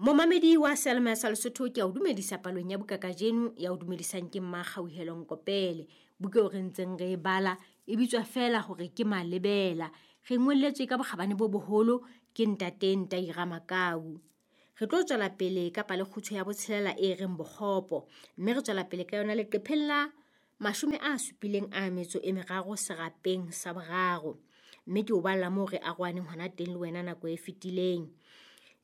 Momamedi wa Selma sa Lesotho ke a o dumedisa palong ya buka kajeno ya o dumedisang ke Mmakgauhelo Nkopele. Buka eo re ntseng re e bala e bitswa feela hore ke Malebela. Re ngolletswe ka bokgabane bo boholo ke ntate Ntaira Makau. Re tlo tswela pele ka palekgutshwe ya botshelela e reng Bokgopo mme re tswela pele ka yona leqepheng la 73 serapeng sa boraro. Mme ke o balla moo re arohaneng hona teng le wena nako e fetileng.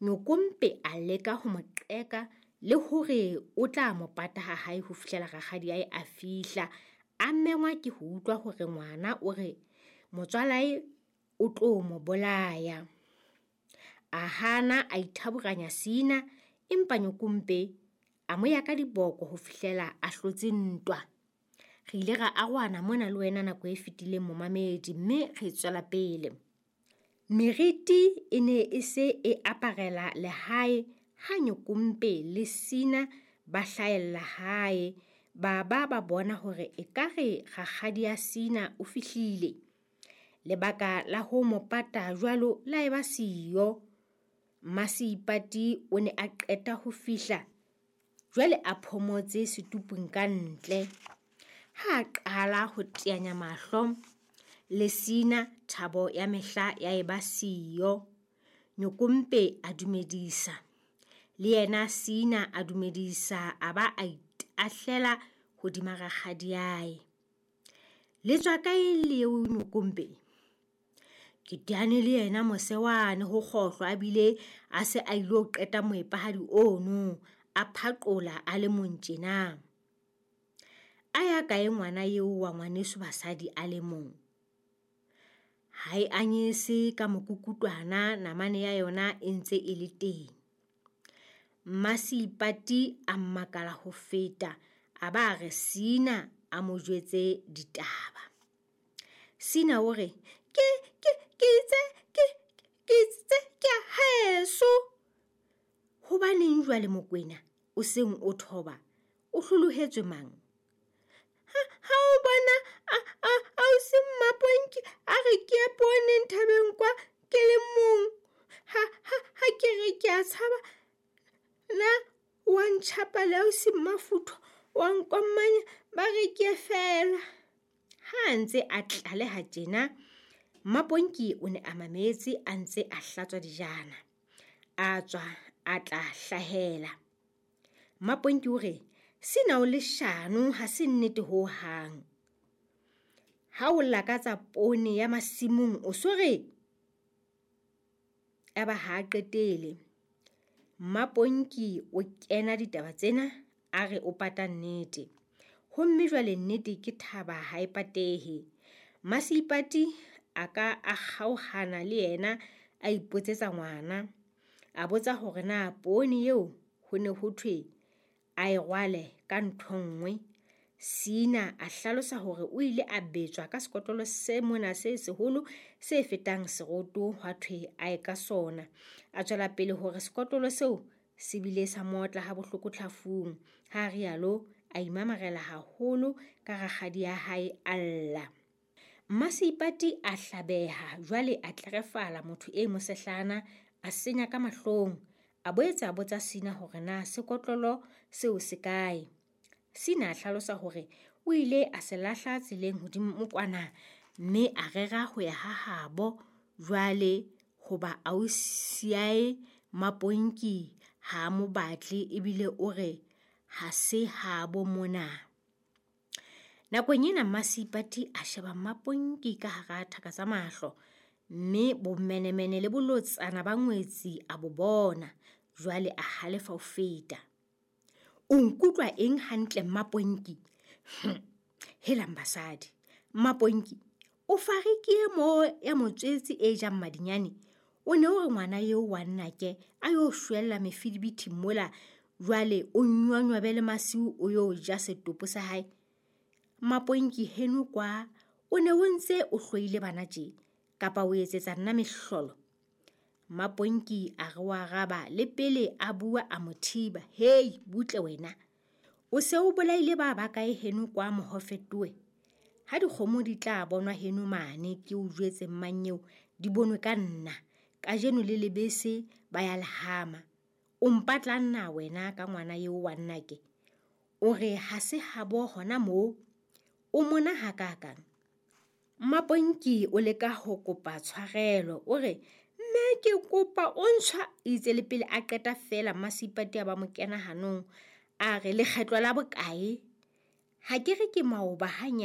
Nyokompe a leka ho mo qeka le hore o tla mo pata ha hae ho fihlela rakgadiae a fihla. A mengwa ke ho utlwa hore ngwana o re motswalae o tlo mo bolaya. A hana a ithaburanya sina, empa Nyokompe a mo ya ka diboko ho fihlela a hlotse ntwa. Re ile ra arohana mona le wena nako e fetileng momamedi mme re tswela pele. Meriti e ne e se e aparela lehae ha Nyokompe le Sina ba hlahella hae. Ba ba ba bona hore ekare rakgadi ya Sina o fihlile. Lebaka la ho mo pata jwalo la eba siyo. Mmaseipati o ne a qeta ho fihla jwale a phomotse setupung ka ntle. Ha a qala ho teanya mahlo le Sina, thabo ya mehla ya eba siyo. Nyokompe a dumedisa. Le yena Sina a dumedisa a ba a itahlela hodima rakgadiae. Le tswa kae leo Nyokompe? Ke teane le yena mose wane ho kgohlo a bile a se a ilo qeta moepahadi ono a phaqola a le mong tjena. A ya kae ngwana eo wa ngwaneso basadi a le mong? Ha e anyese ka mokukutwana namane ya yona e ntse e le teng. Mmaseipati a mmakala ho feta a ba re Sina a mo jwetse ditaba. Sina o re ke ke ke itse ke ke itse ke a haeso. Hobaneng jwale Mokwena o seng o thoba o hlolohetswe mang? Ha ha o bona a a ausi Mmaponki a re ke ye pooneng thabeng kwa ke le mong. Ha ha ha ke re ke a tshaba na wa ntjhapa le ausi Mmafutho wa nkommanya ba re ke feela. Ha a ntse a tlaleha tjena, Mmaponki o ne a mametse a ntse a hlatswa dijana. A tswa a tla hlahela. Mmaponki o re sena o leshano ha se nnete ho hang. Ha o lakatsa poone ya masimong o so re aba ha a qetele. Mmaponki o kena ditaba tsena a re o pata nnete. Homme jwale nnete ke thaba ha e patehe. Mmaseipati a ka a kgaohana le yena a ipotsetsa ngwana. A botsa hore na poone eo ho ne ho thwe a e rwale ka ntho nngwe. Sina a hlalosa hore o ile a betswa ka sekotlolo se mona se seholo se fetang seroto hwa thwe a ye ka sona. A tswela pele hore sekotlolo seo se bile sa motla ha bohloko tlhafung. Ha rialo a imamarela haholo ka rakgadi ya hae a lla. Mmaseipati a hlabeha jwale a tlerefala motho e mosehlana a senya ka mahlong. A boetse a botsa Sina hore na sekotlolo seo se kae. Sina a hlalosa hore o ile a se lahla tseleng hodimo kwana mme a rera ho ya ha habo jwale hoba ausiae Mmaponki ha a mo batle ebile o re ha se habo mona. Nakong ena Mmaseipati a sheba Mmaponki ka hara thaka tsa mahlo mme bomenemene le bolotsana ba ngwetsi a bo bona. Jwale a halefa ho feta. O nkutlwa eng hantle Mmaponki? Helang basadi. Mmaponki, o fariki mo ya motswetse e jang madinyane. O ne o re ngwana eo wa nnake a yo shwella mefidibiti mola jwale o nywanywabe le masiu o yo ja setopo sa hae. Mmaponki heno kwa o ne o ntse o hloile bana tje kapa o etsetsa nna mehlolo. Mmaponki a re wa araba le pele a bua a mo thiba. Hei butle wena. O se o bolaile ba ba kae heno kwa mohofetoe? Ha dikgomo di tla bonwa heno mane ke o jwetse mmanyeo di bonwe ka nna. Kajeno le lebese ba ya lehama. O mpatlang na wena ka ngwana eo wa nnake? O re ha se habo hona moo? O mona hakakang? Mmaponki o leka ho kopa tshwarelo, o re mme ke kopa o ntshwa, itse le pele a qeta feela Mmaseipati a ba mo kena hanong. A re lekgetlo la bokae? Ha ke re ke maoba hanyane.